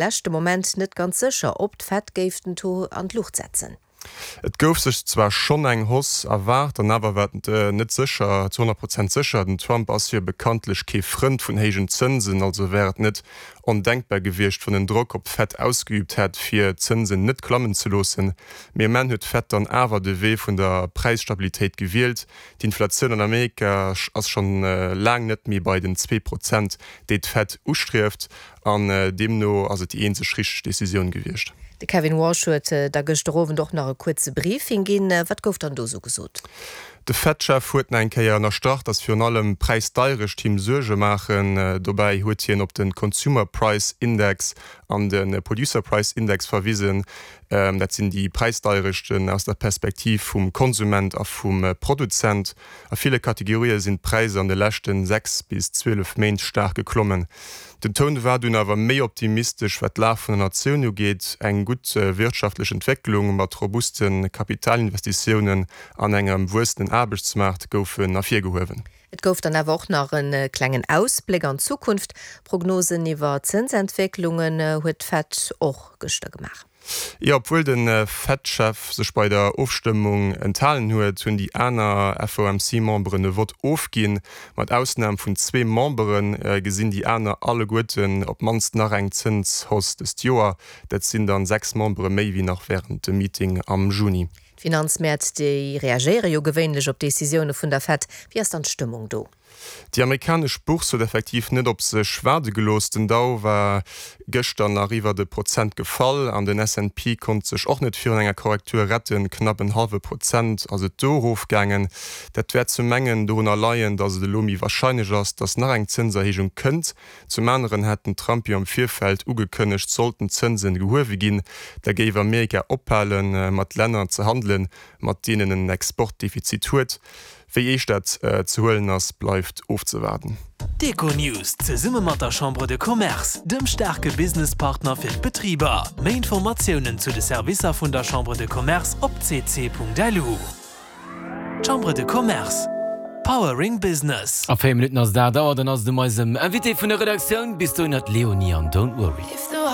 Leschte Moment net ganz sécher, ob d'Fed géif den Taux an d'Luucht setzen. Et gouf sech zwar schonn eng Hausse erwaart, an awer war et net sécher, zu 100 Prozent sécher. Den Trump ass jo bekanntlech kee Frënd vun héijen Zënsen, also wär et net ondenkbar gewiescht, wann en Drock op d'Fed ausgeüübt hätt, fir d'Zënsen net klammen ze loossen. Mee um Enn huet d'Fed dann awer de Wee vun der Präisstabilitéit gewielt. D'Inflatioun an Amerika ass schonn laang net méi bei den 2 Prozent, déi d'Fed ustrieft. An deemno ass et déi eenzeg richteg Decisioun gewiescht. De Kevin Warsh huet da gëschter Owend och nach e kuerze Briefing ginn. Wat gouf dann do sou gesot? De Fed-Chef huet nach eng Kéier ënnerstrach, datt virun allem d'Präisdeierecht him Suerge maachen. Dobäi huet hien op de Consumer Price Index an de Producer Price Index verwisen. Dat sinn déi Präisdeierechten aus der Perspektiv vum Konsument a vum Produzent. A ville Kategorië sinn d'Präisser an de leschte 6 bis 12 Méint staark geklommen. Den Toun war dunn awer méi optimistesch, wat d'Lag vun der Natioun ugeet. Eng gutt wirtschaftlech Entwécklung mat robuste Kapitalinvestitiounen an engem wuessenden Aarbechtsmaart goufen ervirgehuewen. Et gouf dann awer och nach e klengen Ausbléck an d'Zukunft. Prognosen iwwer Zënsentwécklungen huet d'Fed och gëschter gemaach. Jo, obwuel de Fed-Chef sech bei der Ofstëmmung enthalen huet, hunn déi aner FOMC-Memberen e Vott ofginn. Mat Ausnam vun zwee Membere gesinn déi aner alleguerten op d'mannst nach eng Zënshausse dëst Joer. Dat sinn dann 6 Membere méi wéi nach wärend dem Meeting am Juni. D'Finanzmäert, déi reagéiere jo gewéinlech op Decisioune vun der Fed. Wéi ass dann d'Stëmmung do? Déi amerikanesch Bourse huet effektiv net op sech waarde gelooss. Den Dow war gëschter nach iwwert e Prozent gefall an den S&P konnt sech och net virun enger Korrektur retten. Knapp en hallwe Prozent ass et do erofgaangen. Dat wäert zum engen dorunner leien, datt et elo méi warscheinlech ass, datt nach eng Zënserhéijung kënnt. Zum aneren hat den Trump jo am Virfeld ugekënnegt, sollten d'Zënsen gehuewe ginn, da géif Amerika ophale mat Länner ze handelen, mat deenen en Exportdefizit huet. Wéi eescht dat ze huelen ass, bleift ofzewaarden. D'Econews zesumme mat der Chambre de Commerce, dem staarke Businesspartner fir d'Betriber. Méi Informatiounen zu de Servicer vun der Chambre de Commerce op cc.lu. Chambre de Commerce, Powering Business. A 4 Minutten ass et 8 Auer, dann ass et um eisem Invité vun der Redaktioun. Bis dohinner d'Leonie an Don't Worry.